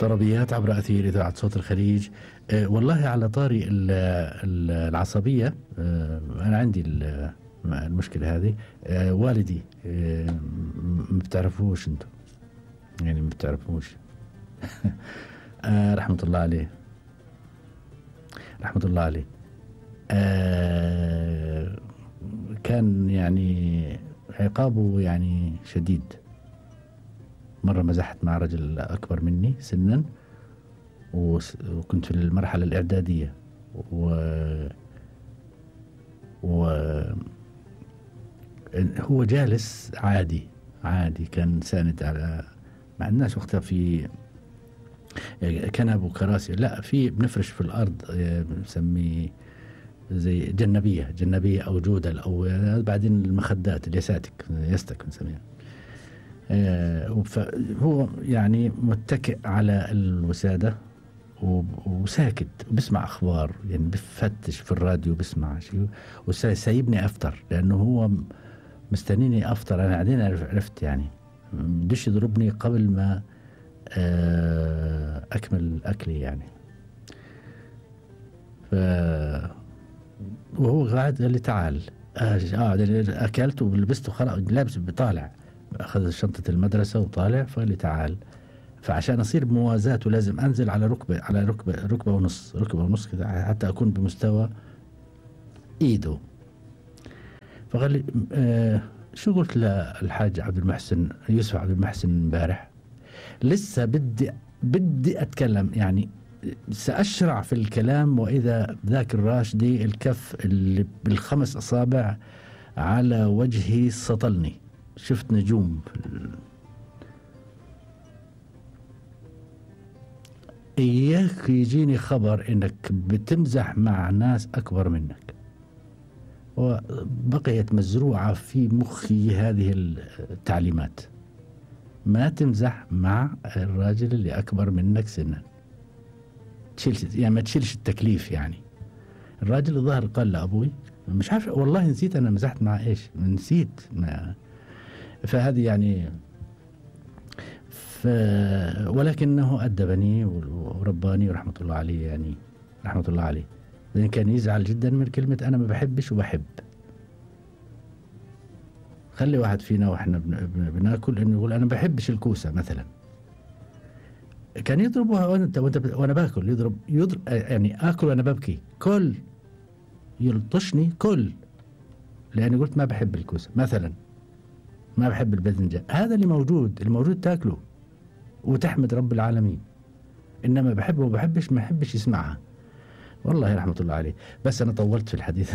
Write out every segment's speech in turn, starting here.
طربيات عبر أثير إذاعة صوت الخليج. والله على طاري العصبية، أنا عندي المشكلة هذه. والدي ما بتعرفوش أنتم، يعني ما بتعرفوش. رحمة الله عليه، رحمة الله عليه. كان يعني عقابه يعني شديد. مرة مزحت مع رجل أكبر مني سنا، وكنت في المرحلة الإعدادية، هو جالس عادي كان ساند على مع الناس وقتها في كنب وكراسي، لا في بنفرش في الأرض، بنسميه زي جنبية أو جودل، أو بعدين المخدات يستك بنسميها. فهو يعني متكئ على الوسادة وساكت وبسمع أخبار، يعني بفتش في الراديو بسمع شيء، وسايبني أفطر لأنه هو مستنيني أفطر. أنا بعدين عرفت يعني بدش يضربني قبل ما أكمل أكلي يعني. وهو قاعد قال لي تعال. أكلت ولبست وخلاص، لابس بطالع، أخذ شنطة المدرسة وطالع، فقال لي تعال. فعشان أصير بموازاته لازم أنزل على ركبة ونص كده حتى أكون بمستوى إيده. فقال لي شو قلت للحاج يوسف عبد المحسن امبارح؟ لسه بدي أتكلم، يعني سأشرع في الكلام، وإذا ذاك الراشدي الكف اللي بالخمس أصابع على وجهي سطلني، شفت نجوم. إياك يجيني خبر إنك بتمزح مع ناس أكبر منك. وبقيت مزروعة في مخي هذه التعليمات: ما تمزح مع الراجل اللي أكبر منك سنا، يعني ما تشيلش التكليف. يعني الراجل الظاهر قال لأبوي، مش عارف والله، نسيت أنا مزحت مع إيش، نسيت. فهذه يعني ولكنه أدبني ورباني ورحمة الله عليه، يعني رحمة الله عليه. لأن كان يزعل جدا من كلمة أنا ما بحبش وبحب. خلي واحد فينا وإحنا بناكل إنه يقول أنا ما بحبش الكوسة مثلا، كان يضربها وأنا باكل، يضرب يعني آكل وأنا ببكي، كل يلطشني كل، لأني قلت ما بحب الكوسة مثلا، ما بحب الباذنجان. هذا اللي موجود تاكله وتحمد رب العالمين. إنما بحبه وبحبش، ما يحبش يسمعها. والله رحمة الله عليه. بس أنا طولت في الحديث.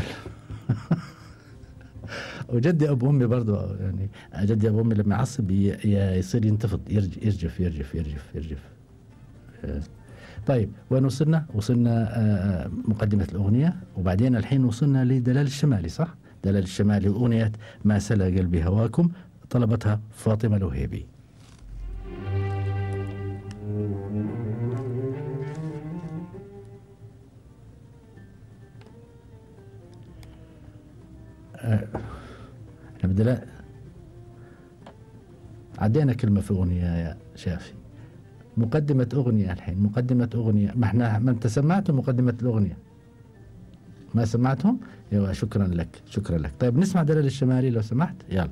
وجدي أبو أمي برضو، يعني جدي أبو أمي لما يعصب يصير ينتفض، يرجف. طيب وين وصلنا مقدمة الأغنية، وبعدين الحين وصلنا لدلال الشمالي، صح؟ دلال الشمالي أغنية ما سلا قلبي هواكم، طلبتها فاطمة الوهيبي. احنا عدينا كلمة في أغنية يا شافي. مقدمة أغنية الحين، مقدمة أغنية، ما أنت سمعته مقدمة الأغنية، ما سمعتهم؟ شكرا لك. طيب نسمع دلال الشمالي لو سمحت، يلا.